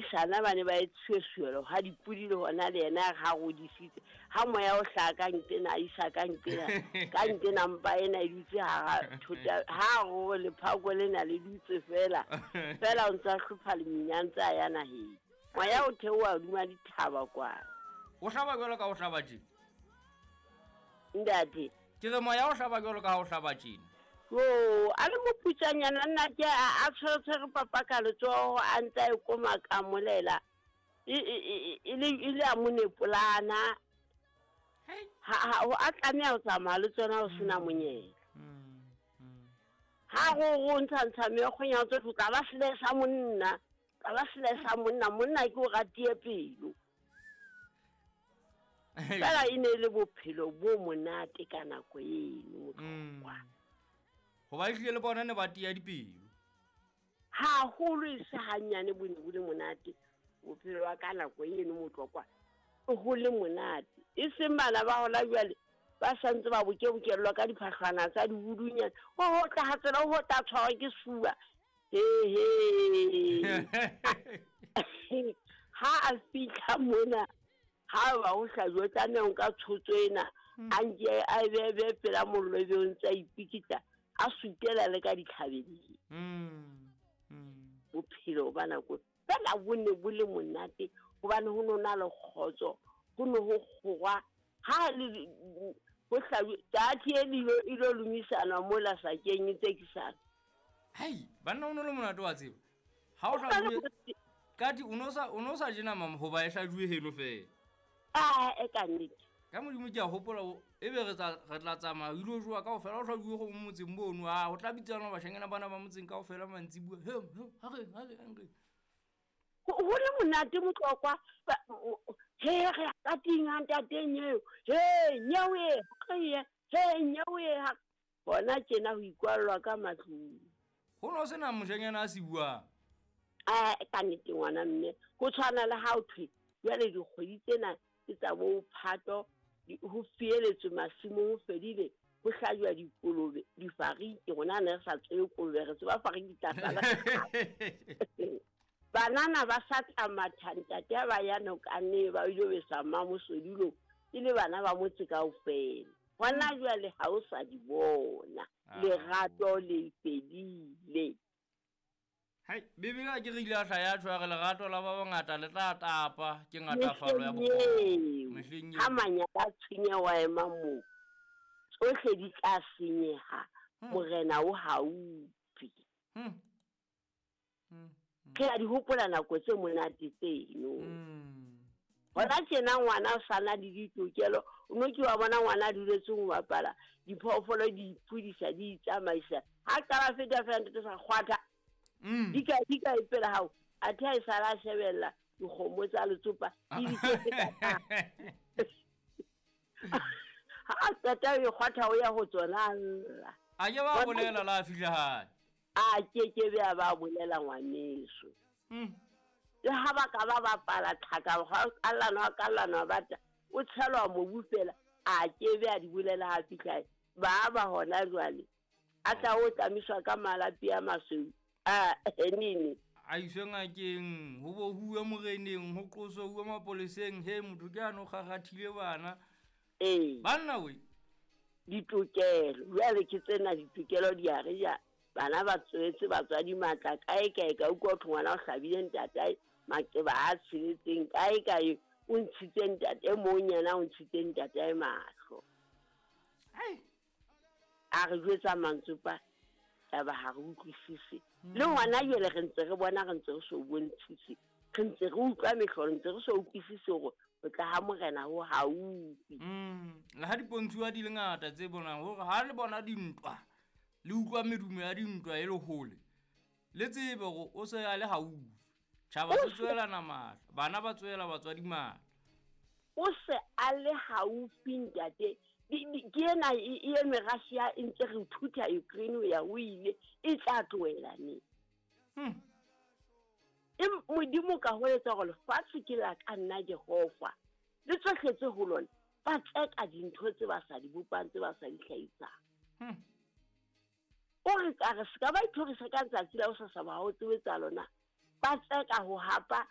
Badisana ba ne ba etsuesuelo ha dipodi le hona le yena ha rodisitse. Ha moya o hlaha ka nkena a isa ka nkena ka nkena mpa ena e dutse hara thota ha ro lephako lena le dutse fela fela o ntse a hlopha lemina ntse a ya naheng. Moya o theoha hodima dithaba kwana. O hlaba jwalo ka o hlaba tjena. Ntate. Ke re moya o hlaba jwalo ka ha o hlaba tjena. Jo, a le moputsanyana nna ke a tshwere papa ka letsoho a ntse a e koma ka molela. E e e le a mo nepolana. Ha ha a tlameha ho tsamaya le tsona ho sena monyetla. Ha go go ntsha ntsha meokgonya tsotlhe o tla ba sele sa monna. Tla ba sele sa monna, monna ke o ratie pelo. Fela e ne e le bophelo bo monate ka nako eno motlokwa. Hoba ehlile le bona ne ba tia dipelo. Haholo e se hanyane bo ne bo le monate bophelo ba ka nako eno motlokwa. Ho le monate. E seng bana ba hona jwale ba santse ba bokebokellwa ka diphahlwana tsa dibudunyana. Ho ho tla ha tsela ho tla tshwarwa ke sefuba. He he. Ha a fihla mona ha ba ho hlajuwa o tlameha ho nka tshotso ena a nke a be be pela mollo ebe o ntse a ipikita a sutela le ka ditlhabeleng. Bophelo ba nako fela bo ne bo le monate hobane ho no na le kgotso, ho ne ho kgorwa ha le ho hlajuwa tsathi e le ilo lomisana mola sakeng e tsekisana. Hei, banna o no le monate wa tseba. Ha o hlajuwe kati o no sa je nama hoba e hlajuwe heno fela. Ah, e ka nnete. Ka Modimo ke a hopola ebe re tla tsamaya o ilo jowa kaofela o hlajuwe go mo motseng mono. A ho tla bitsana bashanyana bana ba motseng kaofela mantsibuya. He, he, ha re, ha re, ha re. Ho le monate motlokwa. He, re ya ka ting ha ntate nyeo. He, nyeo e, re ye. He, nyeo e ha. Hona tjena ho ikwallwa ka matlung. Ho no sena moshanyana a se buang. A ka nnete ngwana mme ho tshwana le ha o thwe jwale dikgwedi tsena ke tsa bo Phato ho fieletswe masimong ho fedile ho hlajwa dikolobe difariki rona ne re sa tsebe kolobe re tseba fariki tlasana. Banana ba sa tla matha ntate ha ba ya nokaneng ba ilo besa mmamosodulong e le bana ba motse kaofela. Hona jwale ha o sa di bona. Lerato le fedile. Hai, Bibele a ke re ile a hla ya tjho ya re lerato la ba bangata le tla tapa ke ngatafalo ya bokgopo. Mehleng eo. Ha manyala a tshwenya wa ema moo, tsohle di tla senyeha. Morena o haufi. Re a di hopola nako tse monate tseno. Hona tjena ngwana o sana le ditokelo, o no ke wa bona ngwana a duletse ho bapala, diphoofolo di iphodisa di itsamaisa. Ha qala feta fela ntate sa kgwatha. Di ka e pela hao, athe ha e sala a shebella dikgomo tsa letsopa di di tse ka. Ha a qeta ho e kgwatha o ya ho tsona lla. A ke ba bolela la fihla hae. A ke ke be a ba bolela ngwaneso. Le ha ba ka ba bapala tlhaka ha kallana kallana bata o tshelwa mobu fela a ke be a di bolela ha fihla ba ba hona jwale a tla o tlamiswa ka malapi a masweu a nini a iswe ngakeng ho bo huwe moreneng ho qoswe huwe mapoleseng he motho ke ano kgakgathile bana ee banna we ditokelo jwale ke tsena ditokelo di a re ja bana ba tswetse batswadi matla kae kae ka utlwa thwe ngwana o hlabile ntatae maqeba a tsheletseng kae kae o ntshitse ntate mong yena o ntshitse ntatae mahlo. A re jwetsa mantsopa taba ha re utlwisise. Le ngwana jwale re ntse re bona re ntse re so bontshise. Re ntse re utlwa mehlolo ntse re so utlwisise hore ho tla ha morena ho haufi. Le ha dipontshuwa di le ngata tse bonang hore ha le bona dintwa le utlwa medumo ya dintwa e le hole le tsebe hore o se a le haufi. Tjhaba se tswelana matla, bana ba tswela batswadi matla. O se a le haufi ntate. Ke ena e eme Russia e ntse re thutha Ukraine ho ya ho ile e tla tlohela neng. E Modimo ka ho etsa hore lefatshe ke la ka nna Jehova le tsohle tse ho lona ba tseka dintho tse ba sa di bopang tse ba sa di hlahisang. O re ka re se ka ba ithorisa ka letsatsi la hosasa ba ho tsebe tsa lona ba tseka ho hapa